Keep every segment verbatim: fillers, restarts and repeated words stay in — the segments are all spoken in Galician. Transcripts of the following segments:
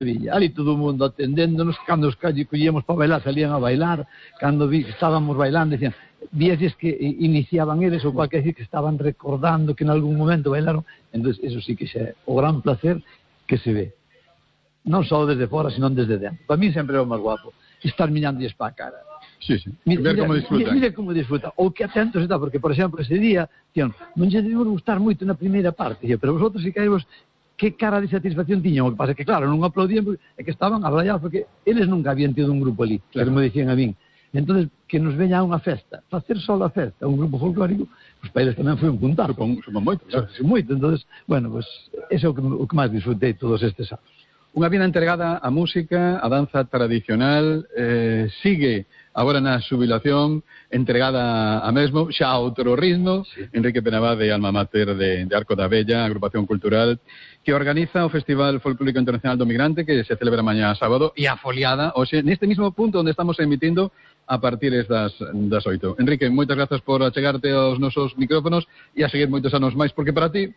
ali todo o mundo atendéndonos, cando os calles collíamos para bailar, salían a bailar, cando vi que estábamos bailando, decían, víases que iniciaban eles, ou cualquier decir que estaban recordando que en algún momento bailaron, entonces eso sí que xa é o gran placer que se ve, non só desde fora, senón desde dentro. Para mí sempre é o máis guapo, estar mirándoles para a cara. Sí, sí, mira, ver como disfrutan. Mira, mira como disfrutan, ou que atentos está, porque, por exemplo, ese día, tío, non lle debemos gustar moito na primeira parte, pero vosotros si caímos, que cara de satisfacción tiñan, o que pasa é que, claro, non aplaudían, porque é que estaban abrallados, porque eles nunca habían tido un grupo ali, claro, que me dicían a min. Entonces, que nos veña a unha festa, facer só a festa, un grupo folclórico, pues para eles tamén foi un puntazo. Supón, supón moito, claro. Supón moito, entonces, bueno, pues, eso é o que, o que máis disfrutei todos estes anos. Unha vida entregada á música, á danza tradicional, eh, sigue agora na xubilación, entregada a mesmo, xa a outro ritmo, sí. Enrique Penabade, alma mater de, de Arco da Vella, agrupación cultural, que organiza o Festival Folclórico Internacional do Migrante, que se celebra mañá sábado, e a foliada, hoxe, neste mismo punto onde estamos emitindo, a partir das, das oito. Enrique, moitas grazas por achegarte aos nosos micrófonos e a seguir moitos anos máis, porque para ti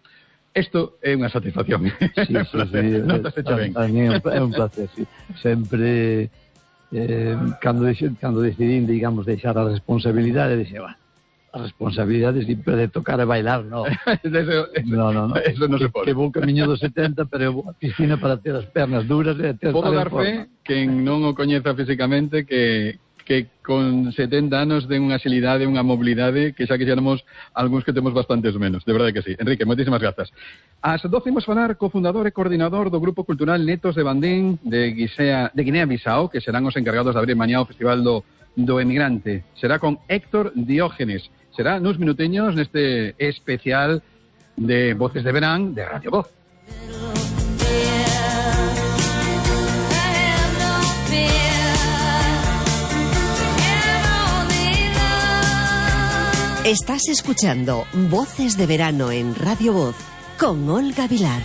isto é unha satisfacción. Sí, sí, sí. Non te fecha ben. A mí é un placer, sí. Sempre... Eh, cando, cando decidín, digamos, deixar a responsabilidade, dixe, va, a responsabilidade sempre de tocar e bailar, no. eso, eso, no, no, no. Eso non se pode. Que vou camiño dos setenta, pero a piscina para ter as pernas duras e ter Podo dar fe, quen non o coñeza físicamente, que que con setenta anos den unha agilidade, unha mobilidade que xa quixéramos algúns que temos bastantes menos, de verdade que sí. Enrique, moitísimas grazas. Ás doce imos falar co fundador e coordinador do Grupo Cultural Netos de Bandín de, Guisea, de Guinea-Bissau, que serán os encargados de abrir mañá o Festival do, do Emigrante. Será con Héctor Diógenes. Será nos minuteños neste especial de Voces de Verán de Radio Voz. Estás escuchando Voces de Verano en Radio Voz con Olga Vilar.